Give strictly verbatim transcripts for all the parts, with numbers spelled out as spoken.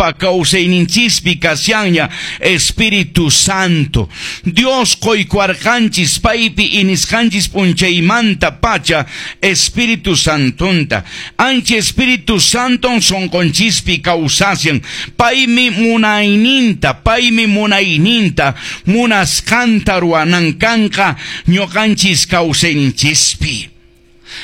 Sapa kawsayninchispi kashanña Espíritu Santo. Dios qoykuwarqanchis paypi iñisqanchis p'unchaymanta pacha Espíritu Santonta. Ancha Espíritu Santon sonqonchispi kawsashan. Paymi munayninta, paymi munayninta, munasqanta ruwanan kanqa ñuqanchis kawsayninchispi.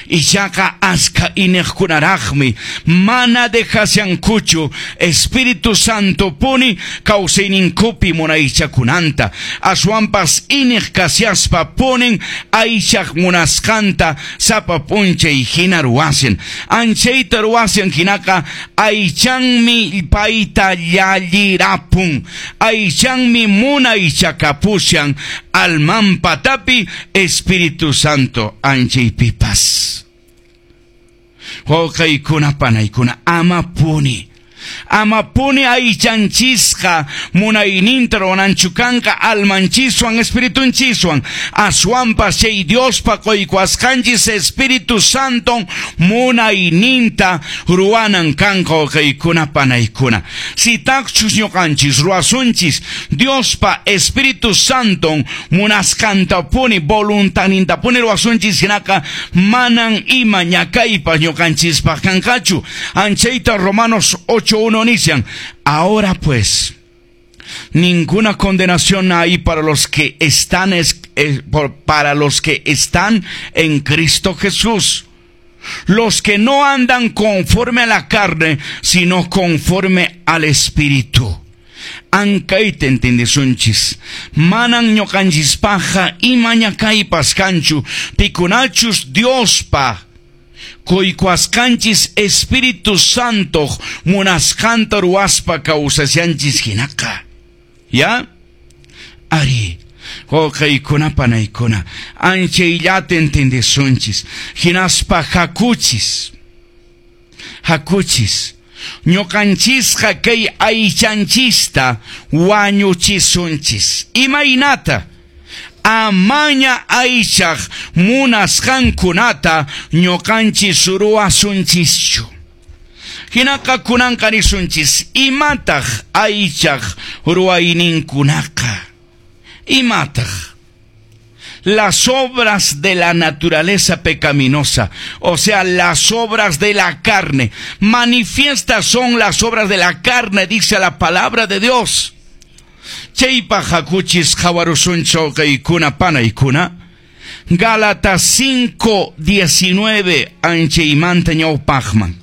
Ichaqa askha iñiqkunaraqmi mana dejashankuchu Espíritu Santo puni kawsayninkupi munaychakunanta. Aswanpas iñiq kashaspa punin aychaq munasqanta sapa p'unchay hina ruwashan. Anchayta ruwashan hinaqa aychanmi payta llallirapun. Aychanmi munaychakapushan alman patapi Espíritu Santo anchaypipas. Wawqiykuna panaykuna amapuni. Amapuni aychanchisqa munayninta ruwananchu kanqa almanchiswan espiritunchiswan. Aswanpas chay Diospa qoykuwasqanchis Espíritu Santon munayninta ruwanan kanqa wawqiykuna panaykuna. Sitaqchus ñuqanchis ruwasunchis Diospa Espíritu Santon munasqantapuni voluntadnintapuni ruwasunchis hinaqa manan ima ñakaypas ñuqanchispaq kanqachu. Anchayta Romanos ocho uno inician. Ahora pues, ninguna condenación hay para los que están es, es, por, para los que están en Cristo Jesús. Los que no andan conforme a la carne, sino conforme al Espíritu. Ankayta entiendesunchis. Manan ñuqanchispaqqa ima ñakaypas kanchu, pikunachus Diospa qoykuwasqanchis Espíritu Santo munasqanta ruwaspa kawsashanchis hinaqa. ¿Ya? Ari. Wawqiykuna panaykuna, anchayllata entendesunchis. Hinaspa hakuchis. Hakuchis. Ñuqanchisqa kay aychanchista wañuchisunchis. Imaynata? Amaña aychaq munasqankunata ñuqanchis ruwasunchischu. Hinaqa kunanqa nisunchis, imataq aychaq ruwayninkunaqa? Imataq? Las obras de la naturaleza pecaminosa, o sea, las obras de la carne. Manifiestas son las obras de la carne, dice la palabra de Dios. Chaypaq hakuchis qhawarusunchik wawqiykuna panaykuna. Gálatas cinco diecinueve anchaymanta ñawpaqman.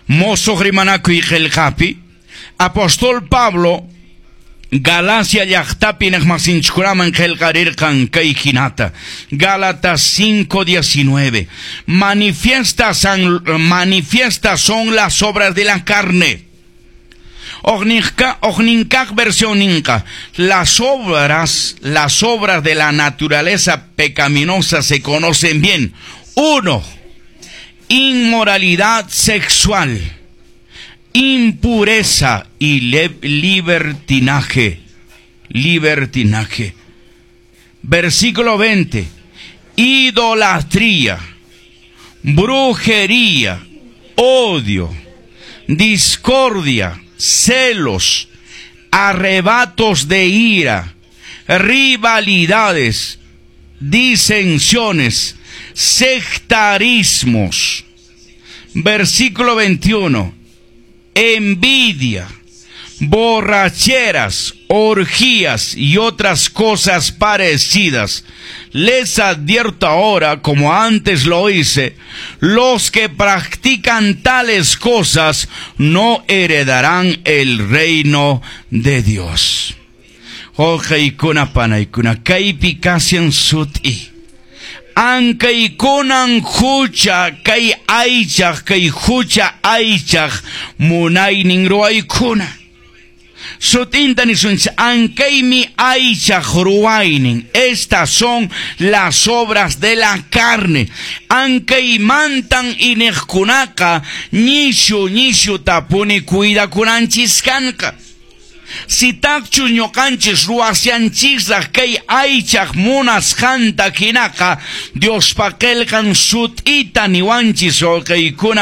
Mosoq rimanakuy qillqapi Apóstol Pablo Galacia llaqtapi iñiqmasinchikkunaman qillqarirqan kay hinata. Gálatas cinco diecinueve. Manifiestas, manifiestas son las obras de la carne. Hukninka, hukninkaq versionninqa. Las obras, las obras de la naturaleza pecaminosa se conocen bien. Uno, inmoralidad sexual, impureza y libertinaje. Libertinaje. Versículo veinte. Idolatría, brujería, odio, discordia, celos, arrebatos de ira, rivalidades, disensiones, sectarismos. Versículo veintiuno. Envidia, borracheras, orgías y otras cosas parecidas. Les advierto ahora, como antes lo hice, los que practican tales cosas no heredarán el reino de Dios. Wawqiykuna panaykuna, kaypi kashan sut'i. Ankaykunan hucha kay aychaq, kay hucha aychaq munaynin ruwaykuna. Sut'inta nisunchis, ankaymi aychaq ruwaynin. Estas son las obras de la carne. Ankaymantan iñiqkunaqa nishu nishu tapuni cuidakunanchis kanqa. Sitaqchus ñuqanchis ruwashanchisraq kay aychaq munasqanta hinaqa Diospa qillqan sut'ita niwanchis wawqiykuna.